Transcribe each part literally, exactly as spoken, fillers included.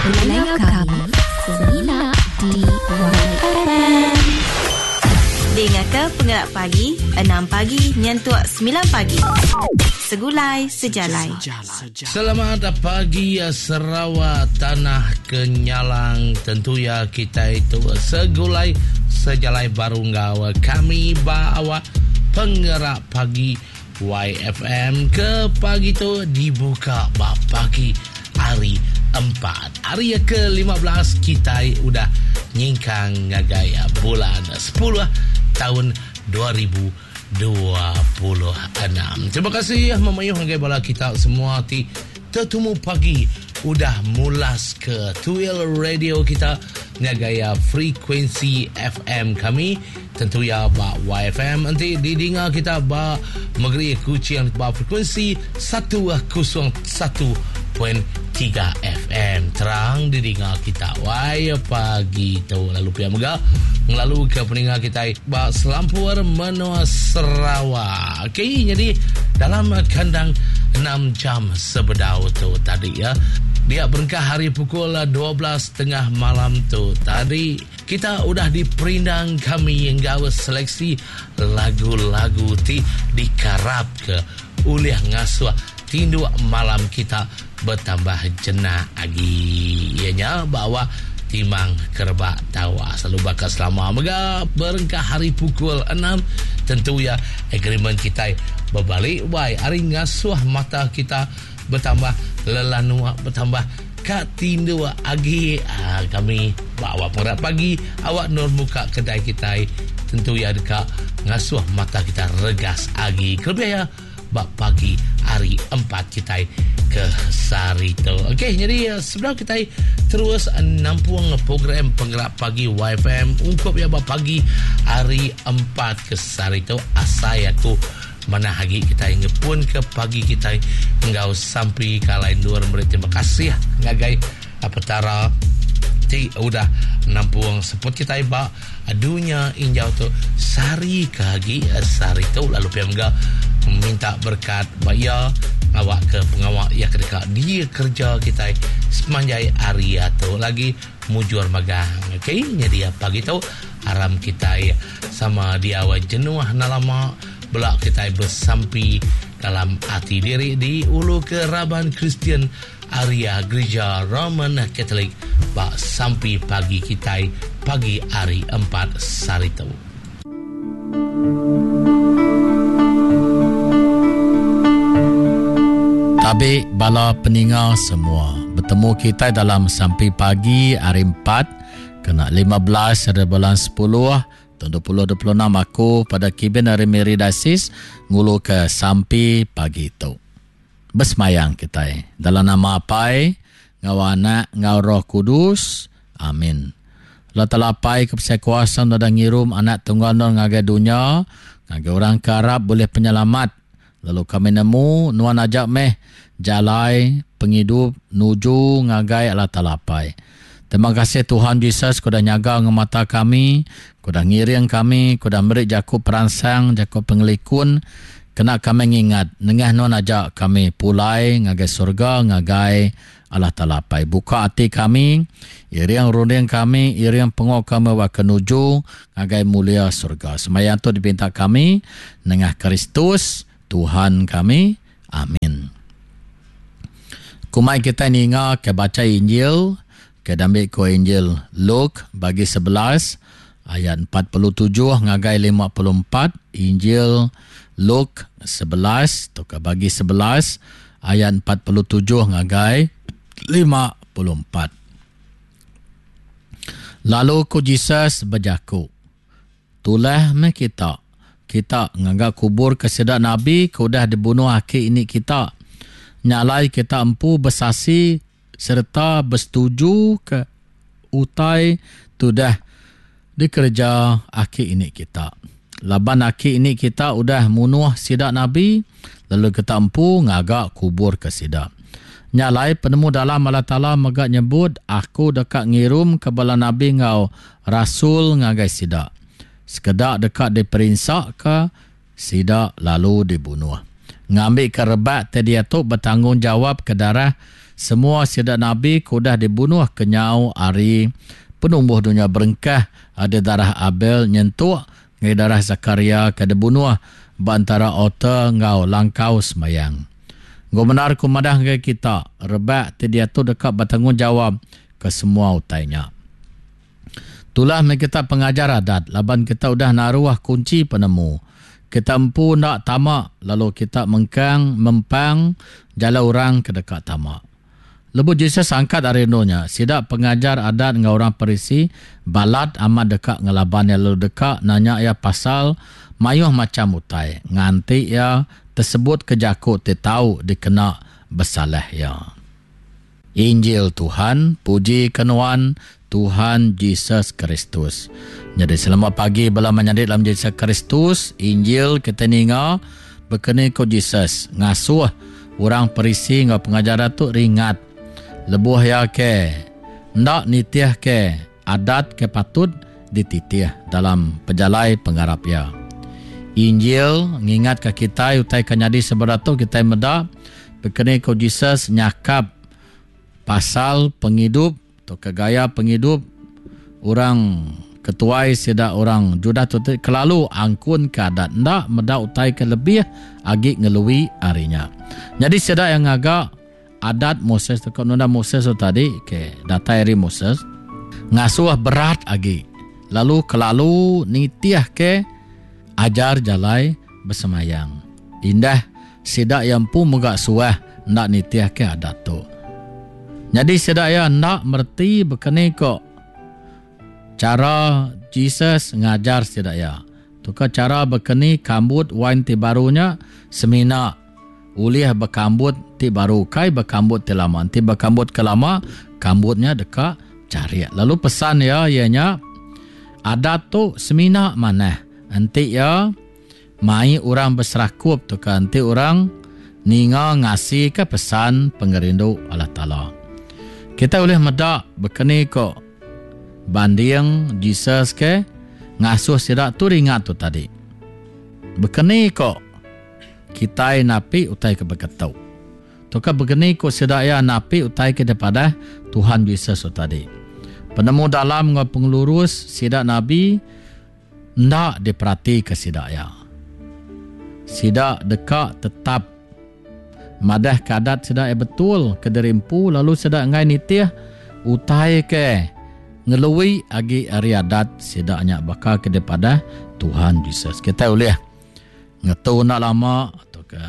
Pendengar kami semina di Y F M. Dengar ke Pengerak Pagi enam pagi nyentuk sembilan pagi. Segulai Sejalai. Selamat pagi ya, Sarawak Tanah Kenyalang. Tentu ya kita itu segulai sejalai baru ngau kami bawa Pengerak Pagi Y F M ke pagi tu dibuka bak pagi hari empat. Hari yang kelima belas kita udah nyingkang ngagai bulan sepuluh tahun dua ribu dua puluh enam. Terima kasih memayuh ngagai bala kita semua ti tetumu pagi udah mulas ke Tuil Radio kita ngagai frekuensi F M kami, tentu ya ba Y F M. Nanti didengar kita ba Negeri Kuching ba frekuensi seratus satu perpuluhan tiga F M, terang didengar kita wai pagi tu. Lalu pia mega ngelalu ke pendengar kita ba selampur menua Sarawak. Okey, jadi dalam kandang enam jam sebedau tu tadi ya, dia berengkah hari pukul dua belas tiga puluh malam tu tadi, kita udah diperindang kami yang gawe seleksi lagu-lagu ti dikarap ke ulih ngasuh tinduk malam kita bertambah jenak lagi. Ianya bawa timang kerebak tawa selalu bakal selama mega berengkah hari pukul enam, tentu ya agreement kita berbalik wai hari ngasuh mata kita bertambah lelanua, bertambah kat tindu agi. Ah, kami bawa Pengerak Pagi awak nur buka kedai kita, tentu ya dekat ngasuh mata kita regas agi kelebih ya bak pagi hari empat kita ke sari tu. Okey, jadi eh, sebelum kita terus nampung program Penggerak Pagi Y F M ungkup ya bak pagi hari empat ke sari tu, asai aku mana lagi kita ingin pun ke pagi kita enggau sampai kalain dua beri terima kasih ngagai Petara ti udah nampung seput kita ba dunya injau tu sari ke agi sari tu. Lalu pia mega minta berkat baya awak ke pengawak ya kedeka dia kerja kita sepanjang hari atau lagi mujur magang. Okey, jadi pagi tu aram kita sama dia awak jenuh nalama belak kita bersampi dalam hati diri di ulu ke Raban Kristian Area Gereja Roman Catholic bak sampi pagi kita pagi hari empat sari tu. Tabi bala peninga semua. Bertemu kita dalam sampi pagi hari empat kena lima belas hari bulan sepuluh tahun dua ribu dua puluh enam. Aku pada kibin hari Mary Dasis ngulu ke sampi pagi itu. Bersemayang kita eh. Dalam nama Apai, ngau anak, ngau Roh Kudus. Amin. Allah Ta'ala Apai kepesai kuasa dan ngirum anak tunggal non ngagai dunia, ngagai orang karab boleh penyelamat. Lalu kami nemu nuan ajak meh jalai penghidup nuju ngagai Allah Ta'ala Apai. Terima kasih Tuhan Yesus kuda nyaga ngemata kami, kuda ngiring kami, kuda merik jaku peransang, jaku pengelikun. Kena kami ngingat, nengah nuan ajak kami pulai ngagai surga, ngagai Allah Ta'ala Apai. Buka hati kami, iring runding kami, iring pengok kami wa kenuju ngagai mulia surga. Semayang tu dipinta kami, nengah Kristus, Tuhan kami. Amin. Kumai kita ninga ke baca Injil, ke dambi ko Injil Luke bagi sebelas ayat empat puluh tujuh ngagai lima puluh empat. Injil Luke sebelas tu ke bagi sebelas ayat empat puluh tujuh ngagai lima puluh empat. Lalu ku Jesus berjaku, "Tulah me kita. Kita nganggap kubur ke sedak nabi ke udah dibunuh aki ini kita. Nyalai kita empu bersasi serta bersetuju ke utai tudah dikerja aki ini kita. Laban aki ini kita udah munuh sidak nabi, lalu kita empu ngagak kubur ke sidak. Nyalai penemu dalam Allah Ta'ala megak nyebut, aku dekat ngirum ke bala nabi ngau rasul ngagai sidak. Sekedak dekat diperinsak ke sidak lalu dibunuh. Ngambil ke rebak te dia tu bertanggungjawab ke darah semua sida nabi ke udah dibunuh kenyau ari penumbuh dunya berengkah ada darah Abel nyentuk ngai darah Zakaria ke dibunuh ba antara altar enggau langkau semayang. Gomenar ku madah ngagai kita, rebak ti diatu deka bertanggungjawab ke semua utai nya. Tulah meh kita pengajar adat, laban kita udah naruh kunci penemu. Kita empu nak tama, lalu kita mengkang mempang jala orang ke dekat tama. Lebuh Jesus angkat ari nya, sida pengajar adat enggau orang Parisi balat amat dekat ngelaban ia lalu dekat nanya ia pasal mayuh macam utai. Nganti ia tersebut ke jaku ti tau dikena bersalah ia. Injil Tuhan, puji ke nuan Tuhan Jesus Kristus. Jadi selamat pagi bala menyadi dalam Jesus Kristus. Injil kita ninga bekeni ko Jesus ngasuh orang Parisi enggau pengajar tu ringat lebuh ya ke ndak nitih ke adat ke patut dititih dalam pejalai pengarap ya. Injil ngingat ke kita utai ke nyadi seberatu kita meda bekeni ko Jesus nyakap pasal penghidup atau ke gaya penghidup orang ketuai sida orang Judah tu kelalu angkun ke adat ndak meda utai ke lebih agi ngelui harinya. Jadi sida yang agak adat Moses tu nunda Moses tu tadi ke datai ari Moses ngasuh berat agi lalu kelalu nitih ke ajar jalai bersemayang. Indah sida yang pun megak suah ndak nitih ke adat tu. Jadi sida ya ndak merti bekeni kok cara Jesus ngajar sida ya. Tuka cara bekeni kambut wain ti barunya semina ulih berkambut ti baru kai berkambut ti lama. Ti berkambut ke lama kambutnya deka cari. Lalu pesan ya ianya adat tu semina manah. Enti ya mai orang berserakup tu kan enti orang ninga ngasi ke pesan pengerindu Allah Taala. Kita boleh medak bekeni kok banding Jesus ke ngasuh sida tu ringat tu tadi. Bekeni kok kita napi utai ke beketu. Tu ke bekeni kok sida ya napi utai ke daripada Tuhan Jesus tu tadi. Penemu dalam ngau pengelurus sida nabi ndak diperhati ke sida ya. Sida deka tetap madah kadat sida ya betul ke derimpu lalu sida ngai nitih utai ke ngelui agi ari adat sida nya bakal ke daripada Tuhan Jesus. Kita boleh ngetu nak lama atau ke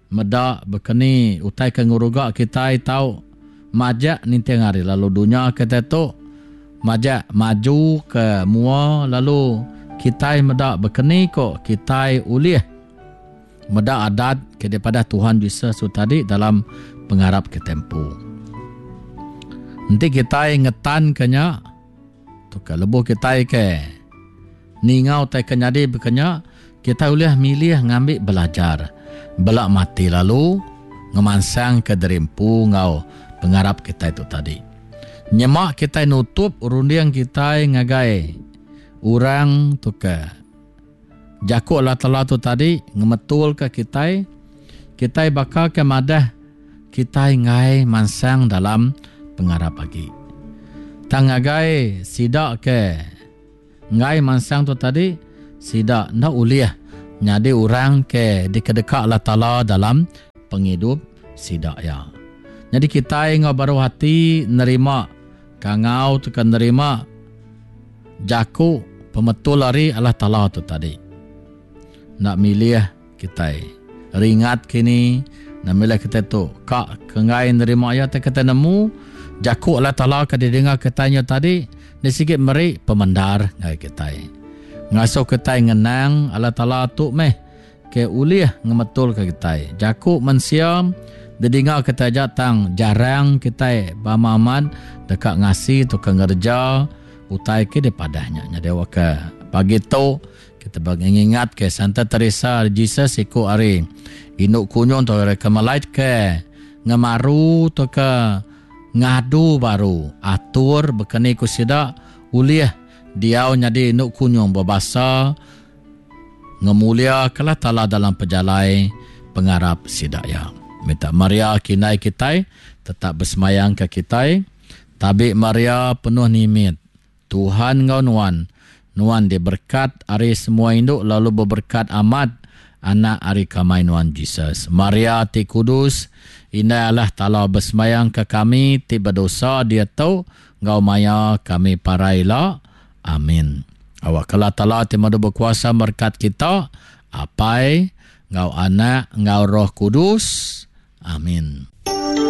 meda bekeni utai ke nguruga kita tau majak nitih hari lalu dunia kita tu majak maju ke mua lalu kita meda bekeni kok kita ulih meda adat ke daripada Tuhan Jesus tu tadi dalam pengarap ke tempo. Nanti kita ngetan kenya tu ke lebuh kita ke ningau tai ke nyadi bekenya kita boleh milih ngambil belajar belak mati lalu ngemansang ke derimpu ngau pengarap kita itu tadi. Nyemak kita nutup runding kita ngagai orang tu ke jaku Allah Taala tu tadi ngemetul ke kita, kita bakal ke madah kita ngai mansang dalam pengarap pagi. Tang ngagai sida ke ngai mansang tu tadi sida ndak ulih nyadi orang ke dikedekak Allah Taala dalam penghidup sida ya. Jadi kita ngau baru hati nerima kangau tu kan nerima jaku pemetul ari Allah Taala tu tadi. Nak milih kita ringat kini nak milih kita tu kak kengai nerima ya te kita nemu jaku Allah Taala ke didengar katanya tadi ni sikit meri pemendar ngai kita. Ngasuh kita ngenang Allah Taala tu meh ke ulih ngemetul ke kita. Jaku mensia didengar kita aja tang jarang kita bamaman dekat ngasi tu ke ngerja utai ke dipadahnya. Jadi awak ke pagi tu kita bagi ingat ke Santa Teresa Jesus iku ari induk kunyung tu ari kemelait ke ngemaru tu ke ngadu baru atur bekeni ku sida ulih diau nyadi induk kunyung berbahasa ngemulia ke Allah Taala dalam pejalai pengarap sida ya. Minta Maria kinai kitai tetap bersemayang ke kitai. Tabi Maria penuh nimit. Tuhan ngau nuan. Nuan diberkat ari semua induk lalu berberkat amat anak ari kamai nuan Jesus. Maria ti kudus, indai Allah Taala bersemayang ke kami ti berdosa dia tu ngau maya kami paraila. Amin. Awak kala Taala ti madu berkuasa berkat kita, Apai, ngau anak, ngau Roh Kudus. Amin.